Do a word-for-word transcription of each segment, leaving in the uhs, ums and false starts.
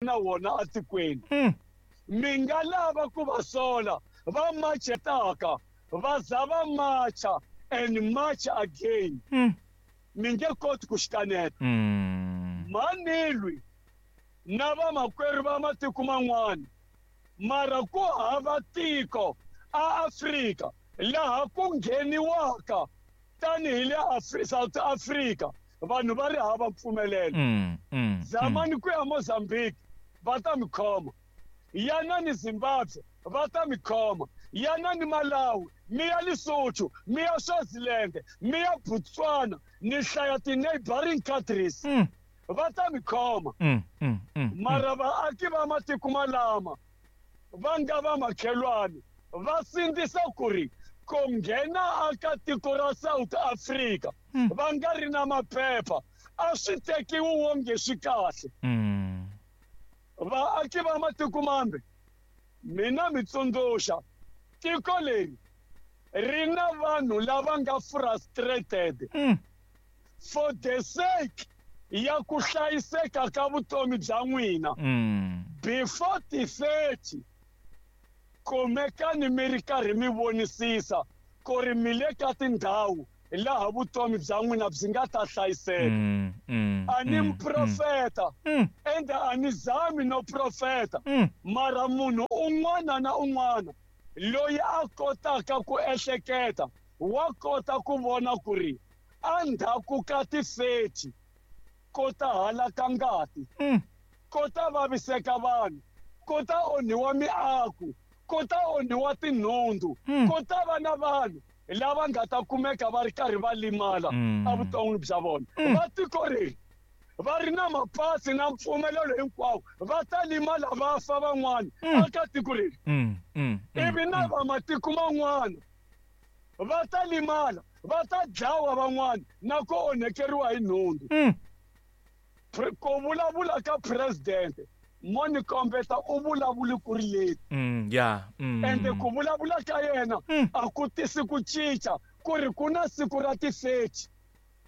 na wona atikweni. Mm. Mi nga lava ku va sola va machetaka va za va macha and march again. Mm. Mi nge koti ku xikaneta. Mm. Manilwi na vamakwerhu va matiko man'wana, mara ku hava tiko a Afrika laha ku ngheniwaka tanihi le Afri- South Africa vanhu va ri hava mpfumelelo. Mm. Mm. Zamani ku ya Mozambique va ta mi khoma, yanani Zimbabwe va ta mi khoma, yanani Malawi, mi ya Lesotho, mi ya Swaziland, mi ya Botswana, ni hlaya ti-neighboring countries Mm. va ta mi khoma. Mm. Mm. Mm. Mara vaaki va matiko malama va nga va makhelwani va sindzisa ku ri ku nghena aka tiko ra South Africa Mm. va nga ri na maphepha a swi tekiwi wonge swi kahle. Mm. Vaaki va matiko mambe, mina mi tsundzuxa tiko leri ri na vanhu lava nga frustrated Mm. for the sake ya ku hlayiseka ka vutomi bya n'wina. Mm. Before ti-thirty kumekani mi ri karhi mi vonisisa ku ri mi le ka tindhawu laha vutomi bya n'wina byi nga ta hlayiseka. Mm. Mm. A ni Mm. muprofeta Mm. ende a ni zami no profeta, Mm. mara munhu un'wana na un'wana loyi a kotaka ku ehleketa wa kota ku vona ku ri endzhaku ka ti-thirty ko ta halaka ngati, Mm. ko ta vaviseka vanhu, ko ta onhiwa miako, ko ta onhiwa tinhundzu, Mm. ko ta va na vanhu lava nga ta kumeka va ri karhi va limala Mm. evuton'wini bya vona. Mm. Va tiko leri va ri na mapasi na mpfumelelo hinkwawo va ta limala va fa van'wana Mm. aka tiko leri. Mm. Mm. Ivi na va matiko man'wana va ta limala va ta dlawa van'wana na ku onhekeriwa hi nhundzu. Mm. Pre- ku vulavula ka president mo ni kombeta u vulavuli ku ri leti. Mm. Yeah. Mm. Ende ku vulavula ka yena Mm. a ku tisi ku cinca ku ri ku na siku ra ti-thirty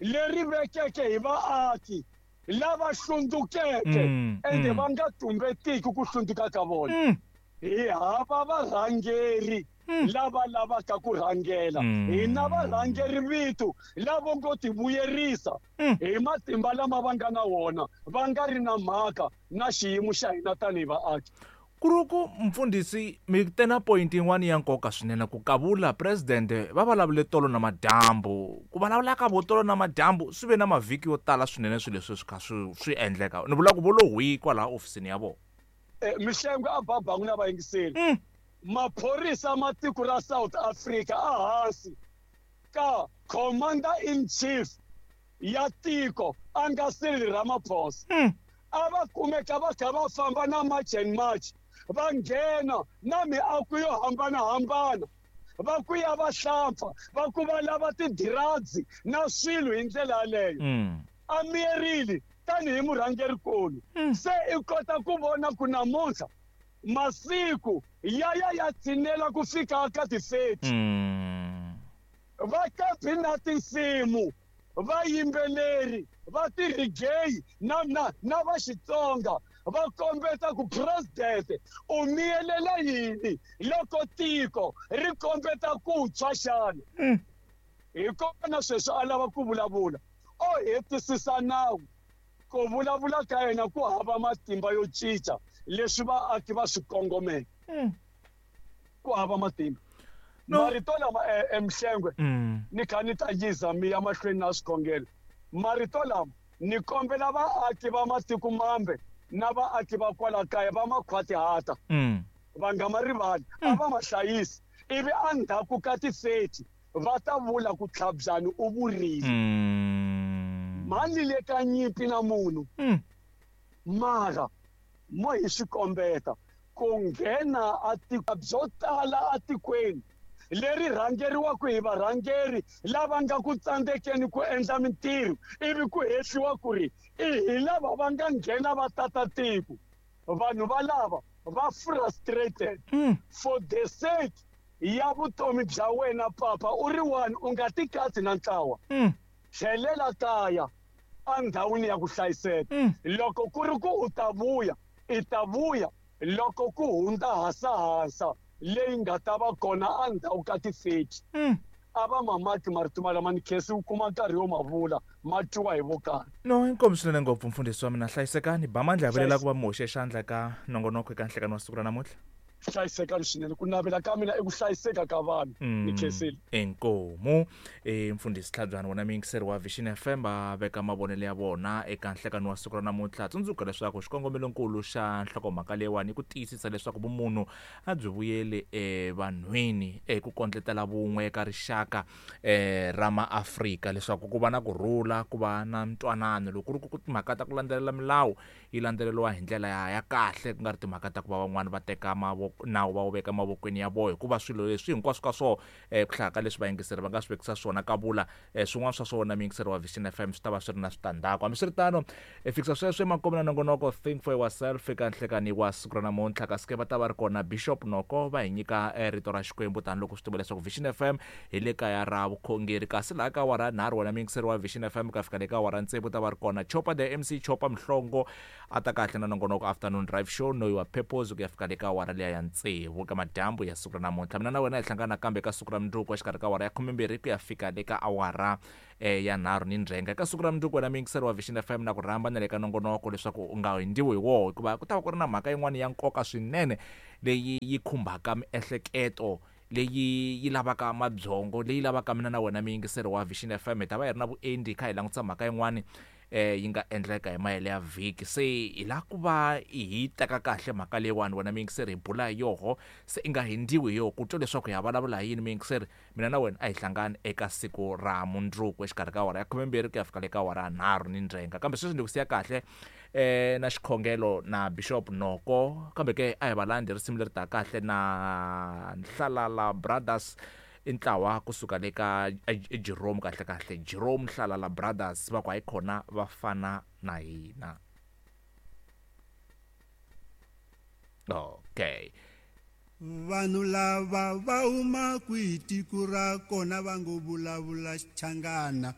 leri vekeke hi vaaki lava hlundzukeke Mm, ende mm. va nga tumbetiki ku hlundzuka ka vona. Mm. Hi hava varhangeri Mm. lava lavaka ku rhangela. Mm. Hina varhangeri vitu lavo ngo tivuyerisa Mm. hi matimba lama va nga na wona va nga ri na mhaka na xiyimo xa hina tanihi vaaki. Ku ri ku mfundhisi mi te na point yin'wana ya nkoka swinene ku kavula president va vulavule tolo na madyambu. Ku vulavula ka vo tolo na madyambu swi ve na mavhiki yo tala swinene swilo leswi swi kha swi swi endleka. Ni vula ku vo lo hwi kwalaha ofisini ya vona. Eh, Mihlengo a babangu na vayingiseri. Mm. Maphorisa ma tiko ra South Africa a hansi ka commander in chief ya tiko a nga Cyril Ramaphosa. Mm. A va kumeka va kha va famba na March and March va nghena na miako yo hambanahambana va ku ya va hlampfa va ku va lava ti-drugs na swilo hi ndlela yaleyo. Mm. A miyerile tanihi murhangerikulu. Mm. Se i kota ku vona ku namuntlha masiku ya ya ya tshinela ku fika ka ti-thirty. Mm. Va kabi na tinsimu vayimbeleri va ti-reggae na na na va Xitsonga va kombeta ku president u miyelela yini loko tiko ri kombeta ku tshwa xana. Mm. Hi kona sweswi a lava ku vulavula o hetisisa nawu. Ku vulavula ka yena ku hava matimba yo cinca leswi vaaki va swi kongomeke. Mm. Ku hava matimba. No. Marito lama eh, Mhlengwe Mm. ni kha ni ta yiza mi ya mahlweni na swikhongelo. Marito lama ni kombela vaaki va matiko mambe na vaaki va kwala kaya va makhwatihata Mm. va nga ma rivali, a va ma hlayisi ivi endzhaku ka ti-thirty va ta vula ku Tlhabyani u vurile. Mm. Mali le ka nyimpi na munhu Mm. mara mo hi swi kombeta ku nghena a tiko byo tala atikweni leri rhangeriwaka hi varhangeri lava nga ku tsandzekeni ku endla mintirho ivi ku hehliwa ku ri i hi lava va nga nghena va tata tiko. Vanhu va lava va frustrated Mm. for the sake ya vutomi bya wena papa u ri one u nga tikatsi na ntlawa. Mm. Tlhelela kaya endhawini ya ku hlayiseka. Mm. Loko ku ri ku u ta vuya I ta vuya loko ku hundza hasahasa leyi nga ta va kona endzhaku ka ti-thirty. A va mamaki marito malama ni khensi u kuma nkarhi wo ma vula ma twiwa hi vo karhi. No, inkomu swinene ngopfu mfundhisi wa mina, hlayisekani. Ba mandla ya vilela ku va mi hoxe xandla ka nongonoko eka nhlekani wa siku ra namuntlha. Hlayisekani swinene, ku navela ka mina i ku hlayiseka ka vanhu. Ni khensile. Inkomu e mfundhisi Tlhabyana, wona muyingiseri wa Vision F M, va veka mavonelo ya vona eka nhlekani wa siku ra namuntlha. Tsundzuka leswaku xikongomelonkulu xa nhlokomhaka leyiwani i ku tiyisisa leswaku vumunhu a byi vuyeli evanhwini, eku kondletela vun'we eka rixaka eh ra maAfrika, leswaku ku va na kurhula, ku va na ntwanano. Loko ku ri ku timhaka ta ku landzelela milawu yi landzeleriwa hi ndlela ya, ya kahle, ku nga ri timhaka ta ku va van'wani va teka mavoko nawu va wu veka mavokweni ya vona, hikuva swilo leswi hinkwaswo ka swona eh, ku hlaya ka leswi vayingiseri va nga swi vekisa swona ka vula eh, swin'wana swa swona muyingiseri wa Vision F M swi ta va swi ri na switandzhaku. Hambiswiritano, eh, fikisa sweswo emakumu na nongonoko Think for Yourself eka nhlekani wa siku ra namuntlha. Kasi ke va ta va ri kona Bishop Noko va hi nyika eh, rito ra Xikwembu, tanihiloko swi tiva leswaku Vision F M hi le kaya ra vukhongeri. Kasi laha ka awara nharhu wena muyingiseri wa Vision F M ka fika le ka awara tsevu ta va ri kona Chopa the M C Chopa Mhlongo a ta kahle na nongonoko Afternoon Drive Show Know Your Purpose ku ya fika le ka awara liya ya tsevu ka madyambu ya siku ra namuntlha. Mina na wena hi hlangana kambe ka siku ra mundzuku exikarhi ka awara ya khumembirhi ku ya fika le ka awara eh, ya nharhu ni ndzhenga. Eka siku ra mundzuku wena muyingiseri wa Vision F M na ku rhamba na le ka nongonoko leswaku u nga hundziwi hi woho, hikuva ku ta va ku ri na mhaka yin'wana ya nkoka swinene leyi yi khumbaka miehleketo, leyi yi lavaka mabyongo, leyi lavaka mina na wena muyingiseri wa Vision F M. Hi ta va hi ri na vuendi hi kha hi langutisa mhaka yin'wani eh yi nga endleka hi mayele ya vhiki. Se hi lava ku va hi teka kahle mhaka leyiwani wena muyingiseri, hi bula hi yoho, se i nga hundziwi hi yoho ku twa leswaku hi ya vulavula hi yini. Muyingiseri, mina na wena a hi hlangani eka siku ra mundzuku exikarhi ka awara ya khumembirhi ku ya fika le ka awara ya nharhu ni ndzhenga. Kambe sweswi ndzi ku siya kahle eh na xikhongelo na Bishop Noko, kambe ke a hi va landzi risimu leri taka kahle na Nhlalala Brothers, i ntlawa kusuka le ka Jerome, kahle kahle Jerome Nhlalala Brothers, va ku hayi khona va fana na hina. Okay. Vanhu lava va huma kwihi tiko ra kona va ngo vulavula Xichangana.